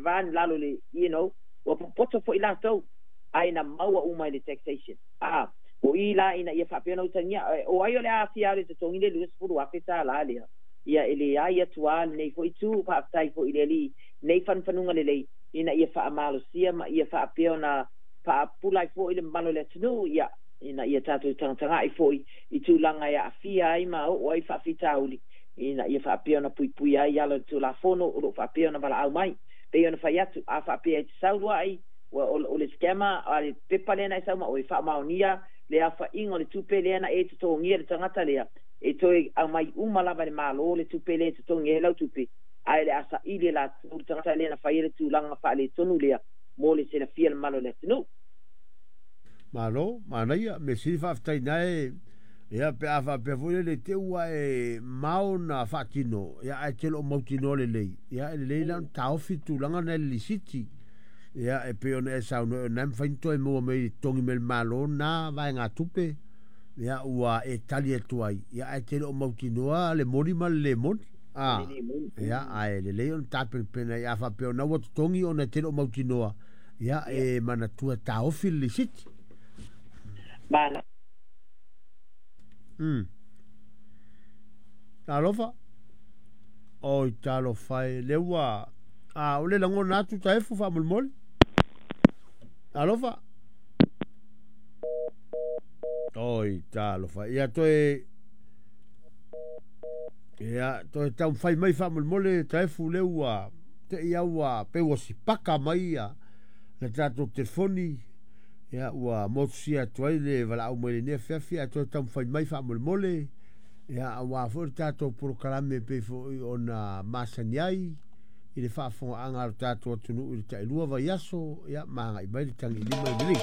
va ni lalo le, ua popoto foi latou, ae na maua uma i le taxation. A o i la ina ia faapea ona utagia o ai o le a fia alu e totogi le $20,000 lea. Ia e leai atu lava lenei foi itu. Faafetai foi i le Alii nei fanufanuga lelei ina ia faamalosia ma ia faapea ona faapula ai foi le mamalu o le atunuu, ia ina ia tatou tagatagai foi i tulaga e aafia ai ma oo ai faafitauli, ina ia faapea ona puipuia ai ala o le Tulafono o lo o faapea ona valaau mai. Pei ona fai atu, a faapea e te sau luai, o le scammer, a le pepa lea na e sau ma oe, faamaonia le aofaiga o le tupe lea na e totogia le tagata lea, e toe aumai uma lava e le Malo le tupe lea e totogi ai lau tupe, ae o le a saili e latou le tagata lea na faia le tulaga faaletonu lea mo le silafia le mamalu o le atunuu. Malo, manaia, mea sili faafetai na e, ia pe a faapea foi lele te ua e mao na faatino, ia ae te loo mautinoa lelei, ia e lelei la ona taofi tulaga na e le lisiti. Ia e pei ona e saunoa o na e mafai ona toe maua mai totogi mai le Malo na vaegatupe, ia ua e tali atu ai, ia ae te le o mautinoa le moni ma le le moni. A, ia ae lelei ona tapenapena ai a faapea ona ua totogi ona e te le o mautinoa, ia e manatua taofi le lisiti. Malo. Talofa. Oi talofa e le ua a o le lagona atu taefu faamolemole. Talofa. Oi talofa. Ia toe ia toe taumafai mai faamolemole taefu le ua te ia ua pe ua sipaka mai ia le tatou telefoni. Ia ua motusia atu ai le valaau mai lenei afiafi ae toe taumafai mai faamolemole. Ia aua foi le tatou polokalame pei foi ona masani ai i le faafofogaaga a le tatou atunuu i le tailua vaiaso, ia ma agai mai le tagilima i le